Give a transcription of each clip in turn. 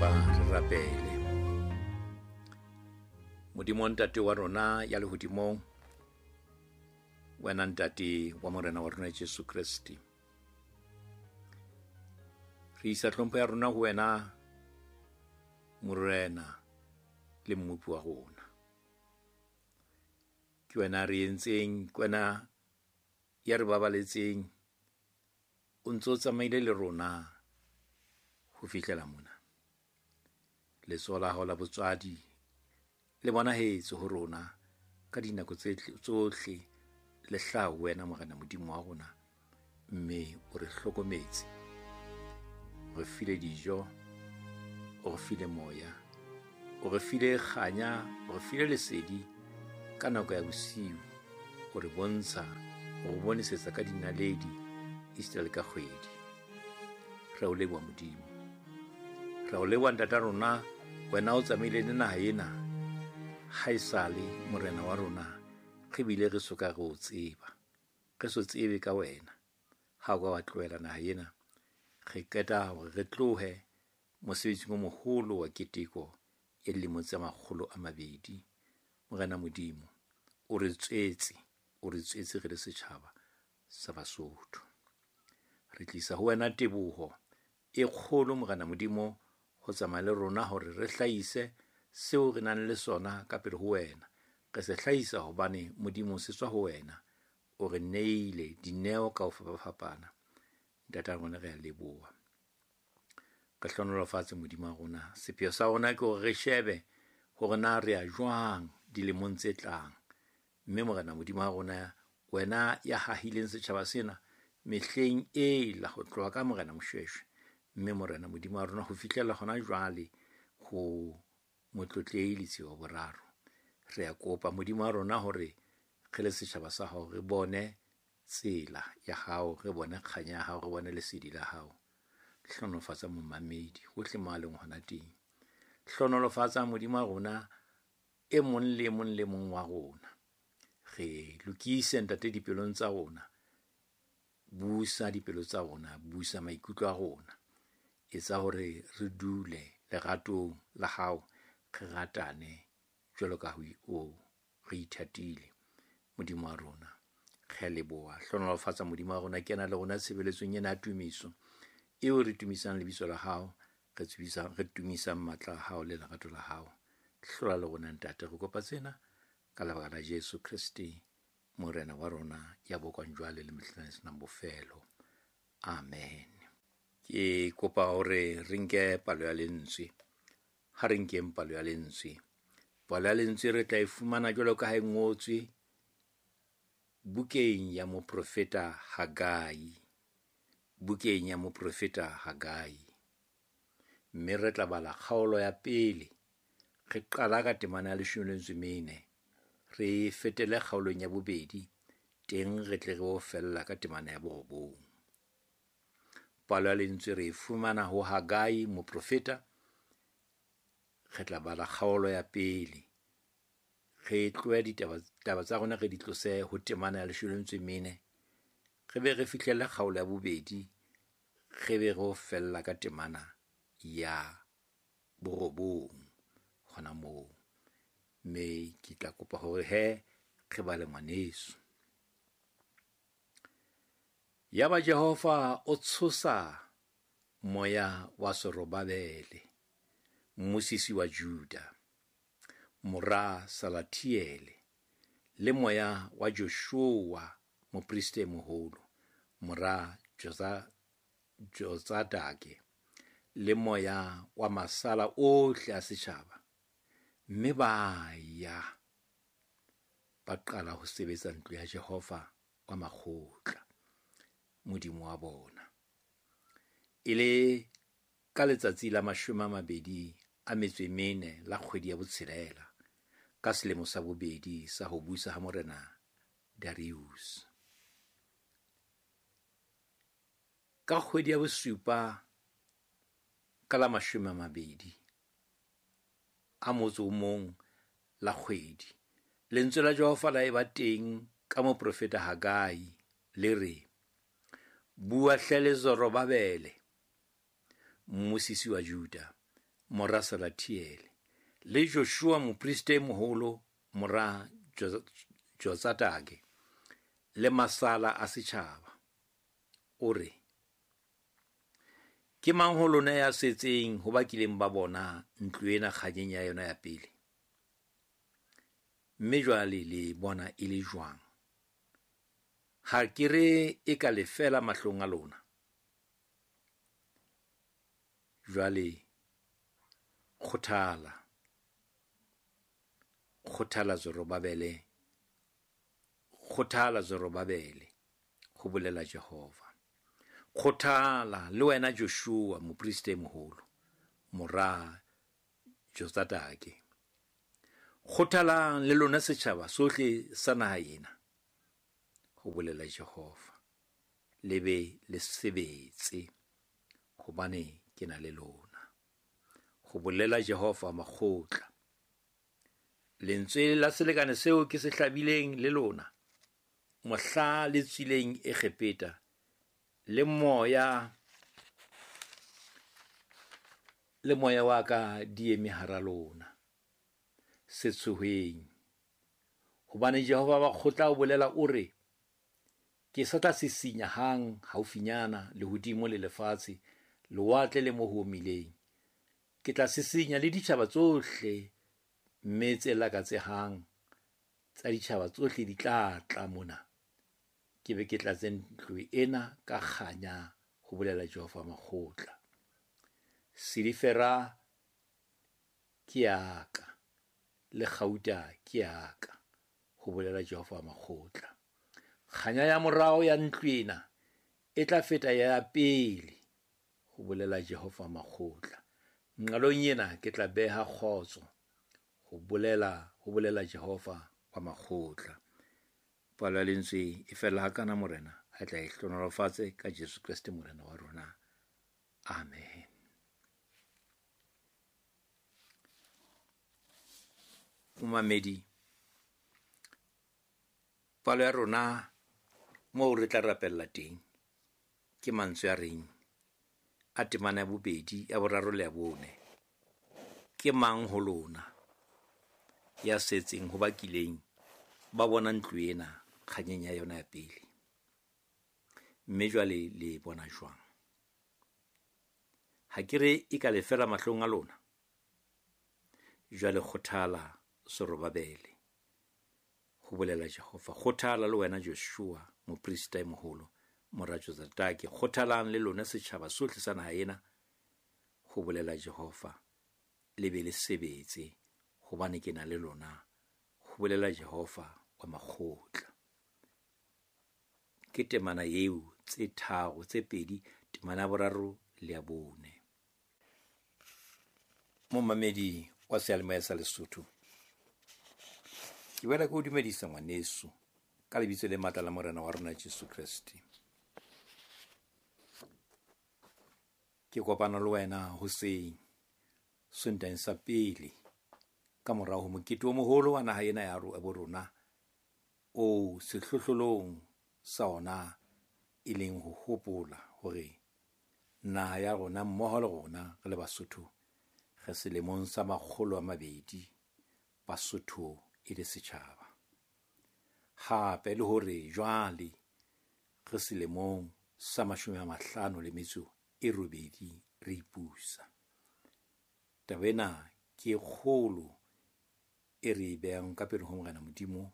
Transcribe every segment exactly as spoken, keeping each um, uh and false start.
Kopa re rapele. Modimo Ntate wa rona ya lehodimong, wena Ntate wa Morena wa rona Jesu Kreste, re isa hlompho ya rona ho wena Morena le Mmopi wa rona. Ke wena re entseng, ke wena ya re babaletseng, o ntso tsamaile le rona ho fihlela mona. Letsoho la hao la botswadi le bonahetse ho rona ka dinako tse tsohle, le hlaha ho wena Morena Modimo wa rona, mme o re hlokometse, o re file dijo, o re file moya, o re file kganya, o re file lesedi ka nako ya bosiu, o re bontsha, o re bonesetsa ka dinaledi esita le ka kgwedi. Re o leboha Modimo, re o leboha Ntata rona, wena o tsamaile le naha ena haesale Morena wa rona, re bile re soka re o tseba, re so tsebe ka wena. Ha o ka wa tlohela naha ena, re qeta hore re tlohe mosebetsing o moholo wa keteko ya dilemo tse makgolo a mabedi. Morena Modimo, o re tswetse, o re tswetse re le setjhaba sa Basotho. Re tlisa ho wena teboho e kgolo Morena Modimo ho tsamaya le rona hore re hlahise seo re nang le sona ka pele ho wena. Re se hlahisa hobane Modimo se tswa ho wena, o re neile dineo ka ho fapafapana. Ntata rona re a leboha, re hlohonolofatse Modimo wa rona. Sepheo sa rona ke hore re shebe hore na re ya jwang dilemong tse tlang, mme Morena Modimo wa rona, wena ya hahileng setjhaba sena mehleng ela ho tloha ka Morena Moshoeshoe, mme Morena Modimo wa rona ho fihlela hona jwale ho Motlotlehi Letsie wa Boraro, re a kopa Modimo wa rona hore re le setjhaba sa hao re bone tsela ya hao, re bone kganya ya hao, re bone lesedi la hao. Hlohonolofatsa momamedi hohle mo a leng hona teng. Hlohonolofatsa Modimo wa rona e mong le mong le mong wa rona. Re lokise Ntate dipelong tsa rona, busa dipelo tsa rona, busa maikutlo a rona, etsa hore re dule leratong la hao, re ratane jwalo ka ha o re ithatile. Modimo wa rona, re a leboha. Hlohonolofatsa Modimo wa rona, kena le rona tshebeletsong ena ya tumiso eo re tumisang lebitso la hao, re tsebisang, re tumisang matla a hao le lerato la hao. Hlola le rona Ntate, re kopa tsena ka lebaka la Jesu Kreste Morena wa rona ya bokwang jwale le mehleng e senang bofelo. Amen. Ke kopa hore re nke palo ya lentswe. Ha re nkeng palo ya lentswe. Palo ya lentswe re tla e fumana jwalo ka ha e ngotswe bukeng ya moprofeta Hagai. Bukeng ya moprofeta Hagai. Mme re tla bala kgaolo ya pele, re qala ka temana ya leshome le metso e mene, re fetele kgaolong ya bobedi, teng re tle re o fella ka temana ya borobong. Palo ya lentswe re e fumana ho Hagai moprofeta. Re tla bala kgaolo ya pele, re tlohe ditaba taba tsa rona re di tlose ho temana ya leshome le metso e mene, re be re fihlelle kgaolo ya bobedi, re be re o fella ka temana ya borobong hona moo. Mme ke tla kopa hore he re bale ngwaneso. Yaba Jehova o tshosa moya wa Zorobabele, mmusisi wa Juda, mora Salathiele, le moya wa Joshua, moprista e moholo, mora Josa, Jotsadake, le moya wa masala ohle a setjhaba, mme ba ya ba qala ho sebetsa ntlo ya Jehova wa makgotla, Modimo wa bona. E le ka letsatsi la mashome a mabedi a metso e mene la kgwedi ya botshelela, ka selemo sa bobedi sa ho busa ha Morena Darius. Ka kgwedi ya bosupa ka la mashome a mabedi a motso o mong la kgwedi, lentswe la Jehova la eba teng ka moprofeta Hagai, le re: Bua hle le Zorobabele, mmusisi wa Juda, mora Salathiele, le Joshua moprista e moholo, mora Jotsadake, le masala a setjhaba, o re, ke mang ho lona ya setseng ho ba kileng ba bona ntlo ena kganyeng ya yona ya pele? Mme jwale le bona e le jwang? Ha ke re e ka lefela mahlong a lona? Jwale kgothala, kgothala Zorobabele, kgothala Zorobabele, ho bolela Jehova. Kgothala le wena Joshua moprista e moholo, mora Jotsadake. Kgothalang le lona setjhaba sohle sa naha ena, ho bolela Jehova. Le be le sebetse, hobane ke na le lona, ho bolela Jehova makgotla. Lentswe la selekane seo ke se hlabileng le lona mohla le tswileng Egepeta, le moya le moya wa ka di eme hara lona. Se tshoheng, hobane Jehova wa kgotla o bolela o re, ke sa tla sisinya hang haufinyana lehodimo le lefatshe, lewatle le mo ho omileng. Ke tla sisinya le ditjhaba tsohle, mme tse lakatsehang tsa ditjhaba tsohle di tla tla mona. Ke be ke tlatse ntlo ena ka kganya, ho bolela Jehova makgotla. Silifera ke ya ka, le kgauta ke ya ka, ho bolela Jehova makgotla. Kganya ya morao ya ntlo ena e tla feta ya pele, ho bolela Jehova makgotla. Nqalong ena ke tla beha kgotso, ho bolela ho bolela Jehova wa makgotla. Palo ya lentswe e fella hakana, Morena a tla e hlohonolofatse ka Jesu Kreste Morena wa rona. Amen. Momamedi, palo ya rona moo re tla rapella teng ke mantswe a reng a temana ya bobedi, ya boraro le ya bone. Ke mang ho lona ya setseng ho ba kileng ba bona ntlo ena kganyeng ya yona ya pele? Mme jwale le bona jwang? Ha ke re e ka lefela mahlong a lona? Jwale kgothala Zorobabele, ho bolela Jehova. Kgothala le wena Joshua moprista e moholo, mora Jotsadake. Kgothalang le lona setjhaba sohle sa naha ena, ho bolela Jehova. Le be le sebetse, hobane ke na le lona, ho bolela Jehova wa makgotla. Ke temana eo tse tharo, tse pedi, temana ya boraro le ya bone. Momamedi wa seyalemoya sa Lesotho, ke boela ke o dumedisa ngwaneso ka lebitso le matla la Morena wa rona Jesu Kreste. Ke kopana le wena hoseng Sontaheng sa pele ka morao ho mokete o moholo wa naha ena ya bo rona, o sehlohlolong sa ona e leng ho hopola hore naha ya rona mmoho le rona re le Basotho re selemong sa makgolo a mabedi Basotho e le setjhaba. Hape le hore jwale re selemong sa mashome a mahlano le metso e robedi re ipusa. Taba ena ke e kgolo e re e behang ka pele ho Morena Modimo,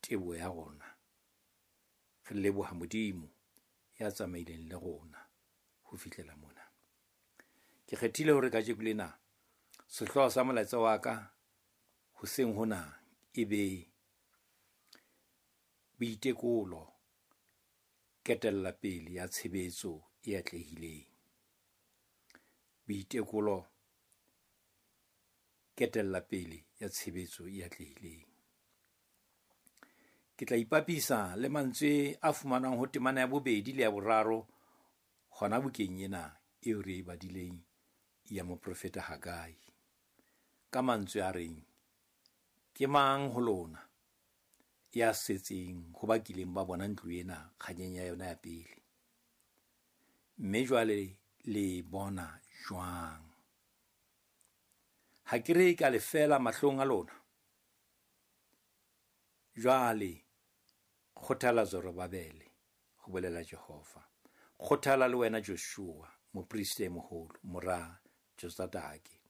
teboho ya rona. Re leboha Modimo ya tsamaileng le rona ho fihlela mona. Ke kgethile hore kajeko lena sehlooho sa molaetsa wa ka hoseng hona e be boitekolo, ketella pele ya tshebetso e atlehileng. Boitekolo, ketella pele ya tshebetso e atlehileng. Ke tla ipapisa le mantswe a fumanwang ho temana ya bobedi le ya boraro hona bukeng ena eo re e badileng ya moprofeta Hagai, ka mantswe a reng, ke mang ho lona ya setseng ho ba kileng ba bona ntlo ena kganyeng ya yona ya pele? Mme jwale le bona jwang? Ha ke re ka lefeela mahlong a lona? Jwale kgothala Zorobabele, ho bolela Jehova. Kgothala le wena Joshua, moprista e moholo, mora Jotsadake.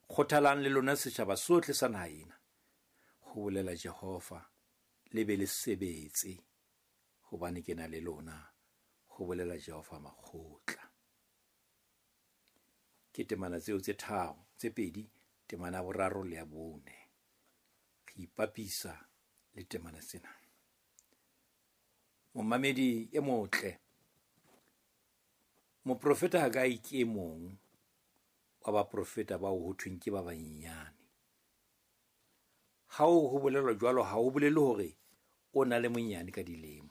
Kgothalang le lona setjhaba sohle sa naha ena, ho bolela Jehova, le be le sebetse, hobane ke na le lona, ho bolela Jehova makgotla. Ke temana tseo tse tharo, tse pedi, temana ya boraro le ya bone. Re ipapisa le temana tsena. Momamedi e motle, moprofeta Hagai ke e mong wa baprofeta bao ho thweng ke ba banyenyane. Ha ho bolelwa jwalo, ha ho bolele hore o na le monyane ka dilemo.